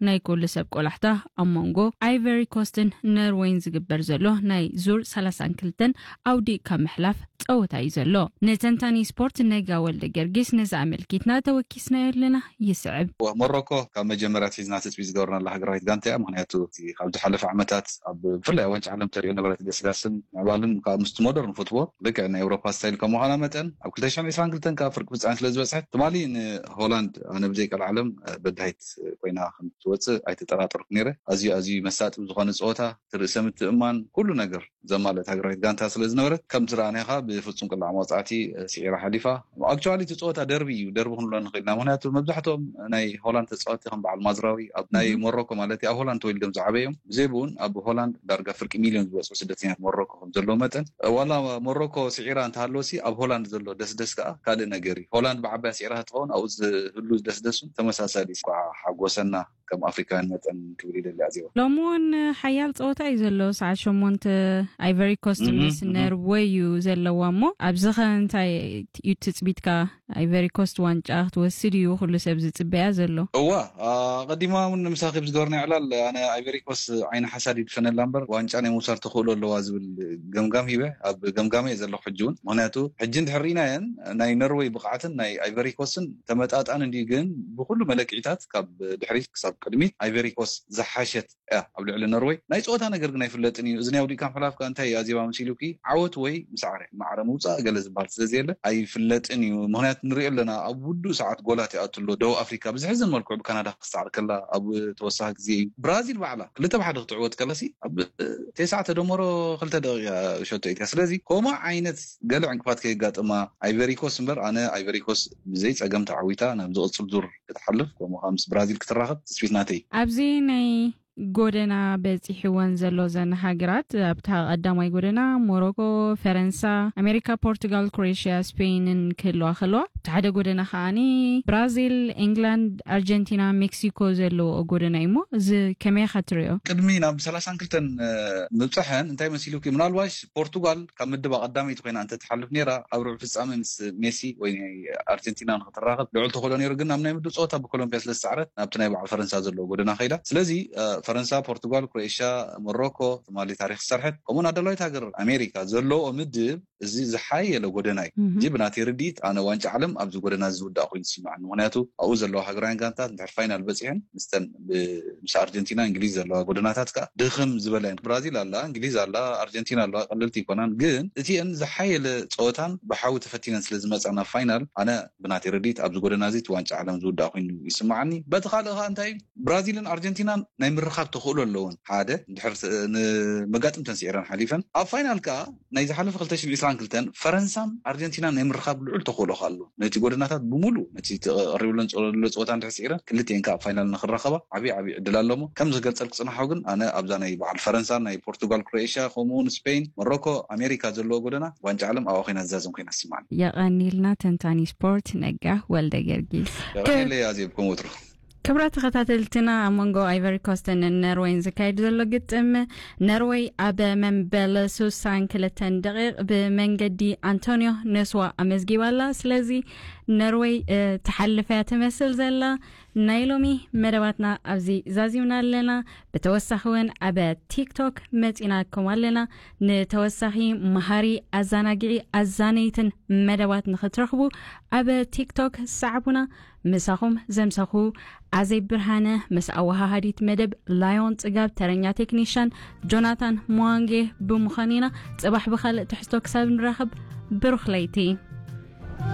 ናይ ኩሉ ሰብ ቆላሕታ ኣብ መንጎ ኣይቨሪ ኮስትን ነርወይን ዝግበር ዘሎ ናይ ዙር ሰላሳን ክልተን ኣውዲቕካ ምሕላፍ ጸወታ እዩ ዘሎ። ንተንታኒ ስፖርት ነጋ ወልደ ገርጊስ ነዚ ኣመልኪትና ተወኪስናዮ ኣለና። ይስዕብ። ሞሮኮ ካብ መጀመርያ ሒዝና ትፅቢት ዝገበርናላ ሃገራዊት ጋንታ እያ። ምክንያቱ እቲ ካብ ዝሓለፈ ዓመታት ኣብ ብፍላይ ዋንጫ ዓለም ተሪኦ ነበረት ገስጋስን ምዕባልን ካብ ምስቲ ሞደርን ፉትቦል ልክዕ ናይ ኤውሮፓ ስታይል ከም ምዃና መጠን ኣብ ክልተ ሽሕን ዕስራን ክልተን ካብ ፍርቂ ፍፃሜ ስለ ዝበፅሐት ትማሊ ንሆላንድ ኣነ ብዘይ ቀልዓለም በዳሂት ኮይና ከም ትወፅእ ኣይተጠራጠርኩ ነይረ። ኣዝዩ ኣዝዩ መሳጢ ዝኾነ ፀወታ፣ ርእሰ ምትእማን፣ ኩሉ ነገር ዘማልአት ሃገራዊት ጋንታ ስለ ዝነበረት ከምቲ ረኣናዮ ብፍፁም ቅላዕ መቕፃዕቲ ስዒራ ሓሊፋ። ኣክቹዋሊ እቲ ፀወታ ደርቢ እዩ፣ ደርቢ ክንብሎ ንኽእል ኢና። ምክንያቱ መብዛሕትኦም ናይ ሆላንድ ተፃወትቲ ከም በዓል ማዝራዊ ኣብ ናይ ሞሮኮ ማለት እዩ፣ ኣብ ሆላንድ ተወሊዶም ዝዓበዩ እዮም። ብዘይ ብኡን ኣብ ሆላንድ ዳርጋ ፍርቂ ሚልዮን ዝበፅሑ ስደተኛታት ሞሮኮ ከም ዘለዎ መጠን ዋላ ሞሮኮ ስዒራ እንተሃለወሲ ኣብ ሆላንድ ዘሎ ደስደስ ከዓ ካልእ ነገር እዩ። ሆላንድ ብዓባያ ስዒራ ትኸውን ኣብኡ ዝህሉ ደስደስ እውን ተመሳሳሊ እዩ። እንኳዕ ሓጎሰና ከም ኣፍሪካውያን መጠን ክብል ይደሊ ኣዜባ። ሎሚ እውን ሓያል ፀወታ እዩ ዘሎ። ሰዓት ሸሞንተ ኣይቨሪ ኮስት ምስ ነርወይ እዩ ዘለዋ እሞ ኣብዚ ከ እንታይ እዩ ትፅቢትካ? ኣይቨሪ ኮስት ዋንጫ ክትወስድ እዩ ኩሉ ሰብ ዝፅበያ ዘሎ። እዋ ኣቐዲማ እውን ምሳኺ ብዝገበርና ዕላል ኣነ ኣይቨሪ ኮስት ዓይኒ ሓሳድ ይድፈነላ እምበር ዋንጫ ናይ ምውሳድ ተኽእሎ ኣለዋ ዝብል ገምጋም ሂበ ኣብ ገምጋመ እየ ዘለኹ ሕጂ እውን። ምክንያቱ ሕጂ እንድሕር ርኢናየን ናይ ነርወይ ብቕዓትን ናይ ኣይቨሪ ኮስትን ተመጣጣኒ እንድዩ፣ ግን ብኩሉ መለክዒታት ካብ ድሕሪት ክሳብ ቅድሚት ኣይቨሪ ኮስት ዝሓሸት እያ ኣብ ልዕሊ ነርወይ። ናይ ፀወታ ነገር ግን ኣይፍለጥን እዩ። እዚ ናይ ውዲካ ምሕላፍካ እንታይ እዩ ኣዜባ መሲሉኪ? ዓወት ወይ ምሳዕረ ማዕረ ምውፃእ ገለ ዝበሃል ስለ ዘየለ ኣይፍለጥን እዩ። ምክንያቱ ንሪኦ ኣለና ኣብ ውዱእ ሰዓት ጎላት ይኣቱ ኣሎ። ደቡብ ኣፍሪካ ብዝሕዝን መልክዑ ብካናዳ ክሰዓር ከላ ኣብ ተወሳኺ ግዜ እዩ። ብራዚል ባዕላ ክልተ ብሓደ ክትዕወት ከላሲ ኣብ ቴስዓ ተደመሮ ክልተ ደቂቃ ሸቶ ኢትያ። ስለዚ ከምኡ ዓይነት ገለ ዕንቅፋት ከየጋጥማ ኣይቨሪኮስ እምበር ኣነ ኣይቨሪኮስ ብዘይ ፀገም ተዓዊታ ናብ ዝቕፅል ዙር ክትሓልፍ ከምኡ ከዓ ምስ ብራዚል ክትራኸብ ትፅቢት ናተይ። ኣብዚ ናይ ጎደና በፂሕወን ዘሎ ዘን ሃገራት ኣብታ ቀዳማይ ጎደና ሞሮኮ፣ ፈረንሳ፣ ኣሜሪካ፣ ፖርቱጋል፣ ክሮኤሽያ፣ ስፔንን ክህልዋ ከለዋ ኣብቲ ሓደ ጎደና ከዓኒ ብራዚል፣ ኤንግላንድ፣ ኣርጀንቲና፣ ሜክሲኮ ዘለዎ ጎደና እዩ። እሞ እዚ ከመይ ኢኻ ትሪኦ? ቅድሚ ናብ ሰላሳን ክልተን ምብፅሐን እንታይ መሲሉኪ? ምናልባሽ ፖርቱጋል ካብ ምድብ ኣቐዳመይቲ ኮይና እንተትሓልፍ ነይራ ኣብ ርብዒ ፍፃመ ምስ ሜሲ ወይ ናይ ኣርጀንቲና ንክትራኸብ ልዑል ተኽእሎ ነይሩ። ግን ኣብ ናይ ምድብ ፀወታ ብኮሎምቢያ ስለ ዝሰዕረት ናብቲ ናይ በዓል ፈረንሳ ዘለዎ ጎደና ከይዳ። ስለዚ ፈረንሳ፣ ፖርቱጋል፣ ክሮኤሽያ፣ ሞሮኮ ትማሊ ታሪክ ዝሰርሐት ከምኡውን ኣዳላዊት ሃገር ኣሜሪካ ዘለዎ ምድብ እዚ ዝሓየለ ጎደና እዩ። እዚ ብናተይ ርድኢት ኣነ ዋንጫ ዓለም ኣብዚ ጎደና እዚ ዝውዳእ ኮይኑ ይስምዓኒ። ምክንያቱ ኣብኡ ዘለዋ ሃገራውያን ጋንታት እንድሕር ፋይናል በፂሐን ምስተን ምስ ኣርጀንቲና እንግሊዝ ዘለዋ ጎደናታት ከዓ ድኽም ዝበላ እየን። ብራዚል ኣላ፣ እንግሊዝ ኣላ፣ ኣርጀንቲና ኣለዋ፣ ቀለልቲ ይኮናን። ግን እቲአን ዝሓየለ ፀወታን ብሓዊ ተፈቲነን ስለ ዝመፃ ናብ ፋይናል ኣነ ብናተይ ርድኢት ኣብዚ ጎደና እዚ እቲ ዋንጫ ዓለም ዝውዳእ ኮይኑ ይስምዓኒ። በቲ ካልእ ከዓ እንታይ ብራዚልን ኣርጀንቲናን ናይ ምርኻብ ተኽእሎ ኣለውን ሓደ እንድሕር ንመጋጥምተን ስዒረን ሓሊፈን ኣብ ፋይናል ከዓ ናይ ዝሓለፈ ክልተ ሽሕን ዕስራን ክልተን ፈረንሳን ኣርጀንቲናን ናይ ምርኻብ ልዑል ተኽእሎ ኣሎ። ነቲ ጎደናታት ብምሉእ ነቲ ተቐሪብለን ዘሎ ፀወታ እንድሕር ስዒረን ክልቲኤን ከዓ ኣብ ፋይናል ንክራኸባ ዓብዪ ዓብዪ ዕድል ኣለሞ። ከም ዝገልፀልኩ ፅናሓው ግን ኣነ ኣብዛ ናይ በዓል ፈረንሳ ናይ ፖርቱጋል ክሮኤሽያ ከምኡውን ስፔን ሞሮኮ ኣሜሪካ ዘለዎ ጎደና ዋንጫ ዓለም ኣብኣ ኮይና ዝዛዘም ኮይና ስማን። የቐኒልና ተንታኒ ስፖርት ነጋ ወልደ ገርጊስ። የቐኒለይ ኣዜብ ከም ወትሩ። ክብራት ተኸታተልትና ኣብ መንጎ ኣይቨሪ ኮስትን ነርወይን ዝካየድ ዘሎ ግጥም ነርወይ ኣብ መንበል ሱሳን ክልተን ደቂቕ ብመንገዲ ኣንቶኒዮ ነስዋ ኣመዝጊባ ኣላ። ስለዚ ነርወይ ትሓልፍ እያ ትመስል ዘላ። ናይ ሎሚ መደባትና ኣብዚ ዛዚምና ኣለና። ብተወሳኺ እውን ኣብ ቲክቶክ መፂናኩም ኣለና። ንተወሳኺ መሃሪ ኣዛናጊዒ ኣዛነይትን መደባት ንክትረኽቡ ኣብ ቲክቶክ ሰዓቡና። ምሳኹም ዘምሰኹ ኣዘይ ብርሃነ ምስ ኣወሃሃዲት መደብ ላዮን ፅጋብ ተረኛ ቴክኒሻን ጆናታን ሞዋንጌ ብምዃን ኢና። ፅባሕ ብኻልእ ትሕዝቶ ክሳብ ንራኸብ ብሩኽ ለይቲ።